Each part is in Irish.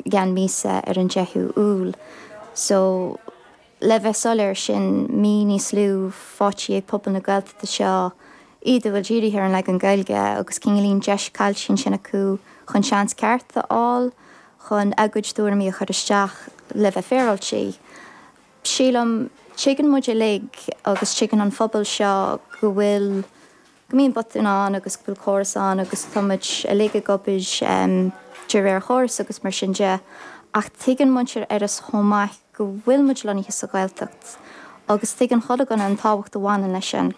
i gceann míosa ar an 10ú Iúil. So, le bheith soiléir, sin mí níos lú faighte ag pobal na Gaeltachta seo, iad a bhfuil dírithe ar an leagan Gaeilge agus cineáilín deis caillte ansin acu chun seans ceart a fháil chun a gcuid tuairimí a chur isteach le bheith féaráilte. Sílim, tuigeann muid uilig agus tuigeann an phobal seo go bhfuil, go mbíonn botúin ann agus go bhfuil córas ann agus tá muid uilig ag obair de réir chóras agus mar sin de ach tuigeann muintir Iorrais chomh maith go bhfuil muid lonnaithe sa Ghaeltacht agus tuigeann chuile dhuine an tábhacht a bhaineann leis sin.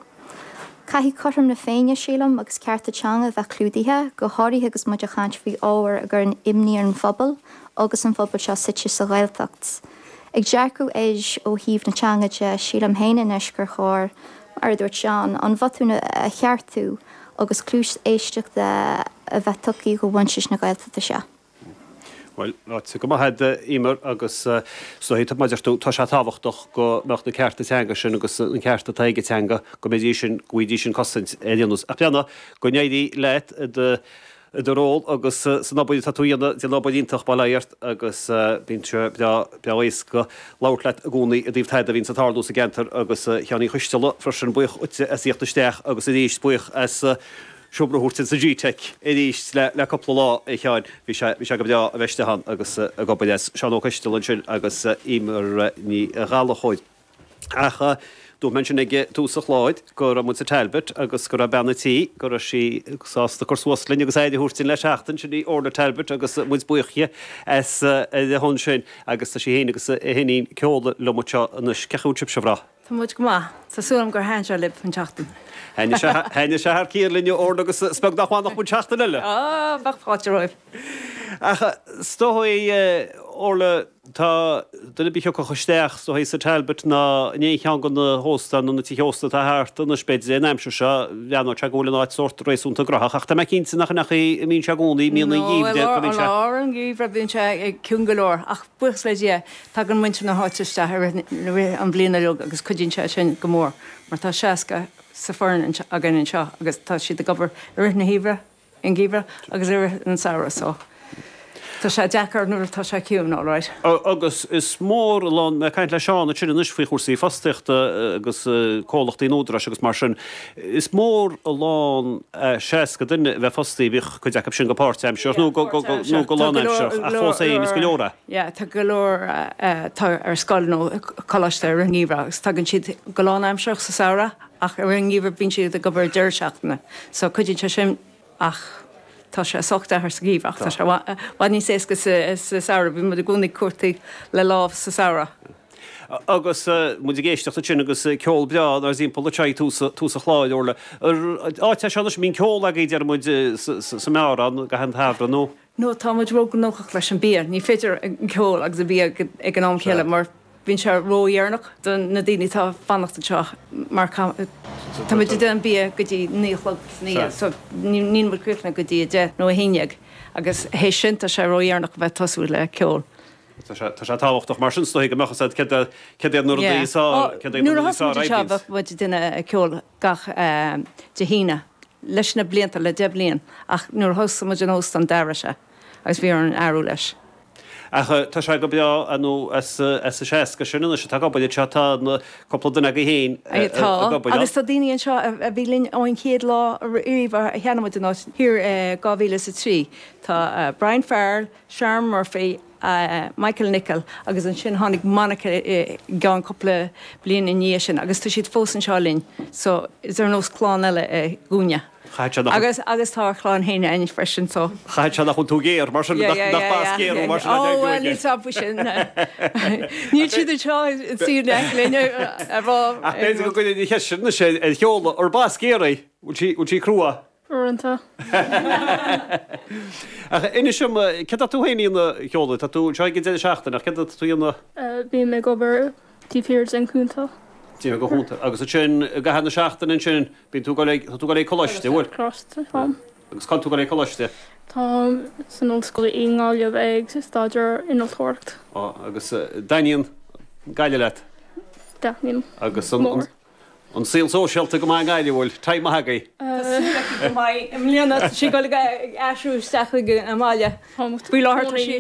Caithfidh cothrom na Féinne, sílim, agus cearta teanga a bheith clúdaithe, go háirithe agus muid ag caint faoi ábhar a gcuireann imní ar an phobal agus an phobal seo suite sa Ghaeltacht. Ag dearcadh air ó thaobh na teanga de, sílim féin anois gur chóir, mar a dúirt Seán, an botún a cheartú agus cluas éisteachta a bheith tugtha do mhuintir na Gaeltachta seo. Bhuel, ráite go maith agat, a Emer, agus is dóigh, mar a deir tú, tá sé tábhachtach go mbeadh na cearta teanga sin agus an ceart atá ag an teanga, go mbeidís sin, go bhfaighidís an cosaint ar aon nós. Ach breathnaigh, go n-éirí leat i do i do ról agus san obair atá tú a dhéanamh, déanamh obair iontach, bail ó Dhia ort, agus bíonn sé breá, breá éasca labhairt leat i gcónaí i dtaobh tada a bhíonns ag tarlú sa gceantar agus a Sheáin Uí Choisteala freisin, buíoch dhuitse as a thíocht isteach agus arís buíoch as seomra a thabhairt ins an G-Tech arís le, le cúpla lá, a Sheáin, bhí sé, bhí sé go breá a bheith istigh ann agus ag obair as. Seán Ó Coisteala ansin agus Emer Ní Ghallchóir. Ach dúirt mé ansin ag tús an chláir go raibh muid sa Talbot agus go raibh bean an tí, go raibh sí sásta cur suas linn agus aire a thabhairt dúinn le seachtain, sin í Orla Talbot agus muid buíoch di as ar a shon sin agus tá sí féin agus a hiníon Ceola liom anseo anois. Cén chaoi a bhfuil sibhse, a mhná? Tá muid go maith. Tá súil agam gur thaitin sé libh an tseachtain. Thaitnigh sé, thaitnigh sé thar cionn linn a Orla agus is beag nach bhfanfadh muid seachtain eile. Á, bheadh fáilte romhaibh. Ach is dóigh, Orla, Tá duine ar bith a thiocfadh isteach is dóigh sa Talbot ná in aon cheann de na hóstáin nó na tithe ósta atá thart anois b'fhéidir an aimsir seo, bhreathnódh sé go bhfuil an áit sórt réasúnta graitheach ach tá mé cinnte nach in é a mbíonn sé i gcónaí, i míonna an gheimhridh go mbíonn sé. No, i lár an gheimhridh bíonn sé ciúin go leor ach buíochas le Dia tagann muintir na háite isteach i rith an bhliain uilig agus cuidíonn sé sin go mór mar tá 60 sa foireann againn anseo agus tá siad ag obair i rith na geimhreadh. an geimhreadh agus i rith an samhradh so tá sé deacair nuair atá sé ciúin alright. Agus is mór an lán, mé ag caint le Seán ansin anois faoi chúrsaí fostaíochta agus comhlachtaí an Údaráis agus mar sin, is mór an lán 60 duine a bheith fostaithe, bíodh cuid acu sin go páirtaimsearach nó go nó go lánaimsearach ach fós féin is go leor é. Yeah, tá go leor atá ar scoil nó coláiste i rith an gheimhreadh agus tagann siad go lánaimsearach sa samhradh Ach i rith an gheimhridh bíonn siad ag obair deireadh seachtaine so cuidíonn sé sin ach tá sé sách deacair sa gheimhreadh ach tá sé i bhfad níos éasca sa samhradh. Bíonn muid i gcónaí ag cuartú le lámh sa samhradh. Agus muid ag éisteacht ansin agus ceol breá inár dtimpeall anseo ag tús tús an chláir, Orla. Áit é seo anois a mbíonn ceol agaibh deir muid sa mbeár ann i gcaitheamh an tsamhraidh nó? No, tá muid róghnóthach leis an bia. Ní féidir an ceol agus an bia ag an am céanna mar bíonn sé ródheireanach do na daoine atá ag fanacht anseo mar tá muid ag déanamh bia go dtí 9 a chlog san oíche so níl muid críochnaithe go dtí 10 nó 11 agus théis sin tá sé ródheireanach a bheith ag tosú le ceol. Tá sé tá sé tábhachtach mar sin is dóigh go mbeadh a fhios agat céard céard iad na rudaí is fearr céard iad na Nuair a rudaí is thosaigh fearr muid anseo a oibríonns. bheadh muid ag déanamh ceol gach Dé hAoine leis na blianta, le 10 bliain, ach nuair a thosaigh muid an óstán d'athraigh sé agus bhí orainn athrú leis. Ach tá sé go breá nó as an 60 sin anois atá ag obair anseo tá cúpla duine agaibh féin ag Tá, obair ann. agus tá daoine anseo a bhí linn ón chéad lá riamh a cheannaigh muid an áit thiar i 2003. Tá Brian Farrell, Sharon Murphy, Michael Nicholl agus ansin tháinig Monica i gceann cúpla bliain i ndiaidh sin agus tá siad fós anseo linn so is ar nós clann eile é dhúinne. Chaithfeadh sé nach. Agus agus tá ár chlann féin againn freisin so. Chaithfeadh sé nach bhfuil tú géar mar sin Yeah, yeah, nach yeah, bas yeah, géar yeah. mar sin a Oh deir well níl 's agam faoi sin. Níl siad anseo ag suí in aice linn a rá. Ach b'fhéidir go gcuirfinn an cheist sin anois ar Sheola, ar bas géar í? Bhfuil sí bhfuil sí crua? Uaireanta. Ach inis dom, céard atá tú féin a dhéanamh, a Sheola? Tá tú anseo ag an deireadh seachtaine, ach céard atá tú a dhéanamh? Bím ag obair taobh thiar den chuntar. Taobh thiar den chuntar. Agus ansin, i gcaitheamh na seachtaine ansin, bíonn tú ag dul ag, tá tú ag dul ag coláiste, an bhfuil? Coláiste, táim. Agus cá bhfuil tú ag dul ag coláiste? Táim san ollscoil i nGaillimh ag staidéar innealtóireacht. Á, agus dtaitníonn Gaillimh leat? Taitníonn. Agus an. An saol sóisialta go maith i nGaillimh, bhfuil time maith agaibh? Tá súil aici go mbeidh. I mbliana tá sí ag dul ag aistriú isteach chuig an mbaile. Faoi láthair tá sí.